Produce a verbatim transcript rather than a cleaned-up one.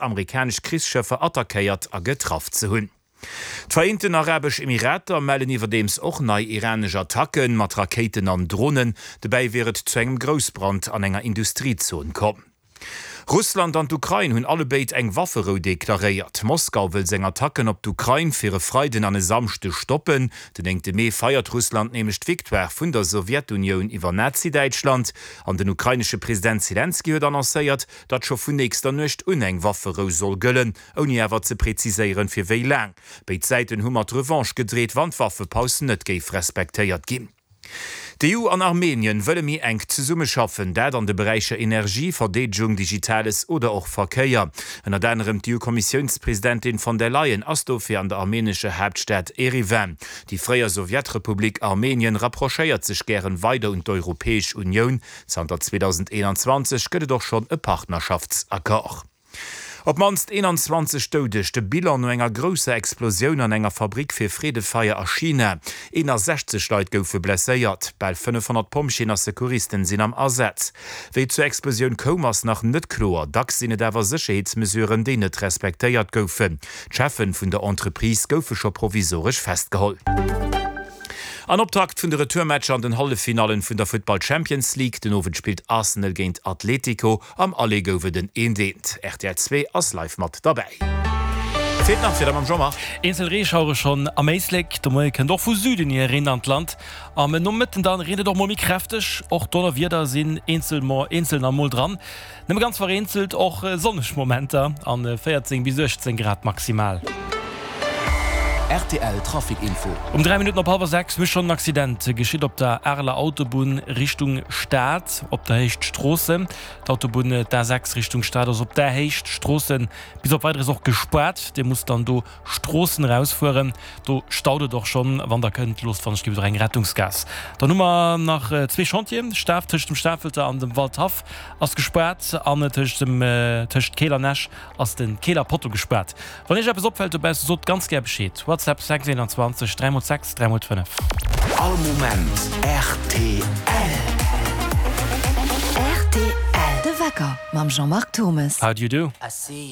amerikanesch Krichsschëffer attackéiert a getraff ze hunn. D'Vereenten Arabesch Emirater mellen iwwerdeems och nei iranesch Attacke mat Rakéiten an Dronen. Dobäi wier et zu engem Groussbrand an enger Industriezon komm. Russland an d'Ukrain hunn allebéid eng Wafferou deklaréiert. Moskau wëll seng Attacken op d'Ukrain fir e Freiden an e Samschdeg stoppen. Den néngte Mee feiert Russland nämlech d'Victoire vun der Sowjetunioun iwwer Nazi-Däitschland. An den ukrainesche President Selenskyj huet annoncéiert, datt scho vun nächster Nuecht un eng Wafferou soll gëllen, ouni awer ze preziséieren, fir wéi laang. Béid Säiten hu mat Revanche gedreet, wann d'Waffepaus net géif respektéiert ginn. D'EU an Armenien wëlle méi enk zesummeschaffen, dat an de Beräicher Energie, Verdeedegung, Digitales oder och Verkéier. Ënnert anerem d'EU-Kommissiounspresidentin von der Leyen ass dofir an der armenescher Haaptstad Eriwan. Déi fréier Sowjetrepublik Armenien rapprochéiert sech gären weider un d'Europäesch Unioun. Zanter zweedausendeenanzwanzeg gëtt et och schonn e Partnerschaftsaccord. Op d'mannst eenanzwanzeg Doudeg, de Bilan no enger grousser Explosioun an enger Fabrick fir Freedefeier a China. Eenasechzeg Leit goufe blesséiert, bal fënnefhonnert Pompjeeën a Secouristen sinn am Asaz. Wéi et zur Explosioun koum, ass nach net kloer. Dacks sinn et awer Sécherheetsmesuren, déi net respektéiert goufen. D'Cheffen vun der Entreprise goufe scho provisoresch festgeholl. An Optakt vun de Retourmatcher an den Halleffinallen vun der Futtball Champions League, Den Owend spillt Arsenal géint Atletico, am Aller gouf et en eent eent. Rtl zwee ass live mat derbäi. Feelt nach fir der mam Jean-Marc. Eenzel Reeschauere schonn am Éislek, de Moie kënnt och vu Süden hier Reen an d'Land. Am Nomëtten dann reent et och mol méi kräfteg, och Donnerwieder sinn eenzel eenzelner mol dran. Nëmme ganz vereenzelt och sonneg Momenter an véierzéng bis uechtzéng Grad maximal. Rtl Trafic Info. Um dräi Minutten op hallwer sechs mécht schonn en Accident geschitt op der Areler Autobunn Richtung Stad op der Héicht Stroossen. D'Autobunn d'A sechs Richtung Stad ass op der Héicht Stroossen bis op Weideres och gespaart. Dir musst dann do Stroossen erausfueren. Do staut et och schonn. Wann der kënnt, loosst wann ech ginn och eng Rettungsgaass. Dann hu mer nach zwee Chantieren. Staf tëscht dem Stafelter an dem Waldhaff ass gespaart an tëscht dem tëscht Keel an Esch ass de Keeler Potto gespaart. Wann iech eppes opfält dobausse, sot ganz gär Bescheed. WhatsApp sechs eenanzwanzeg dräi mol sechs dräi mol fënnef. All Moment rtl. Rtl, De Wecker mam Jean-Marc Thomes. How do you do? I see you.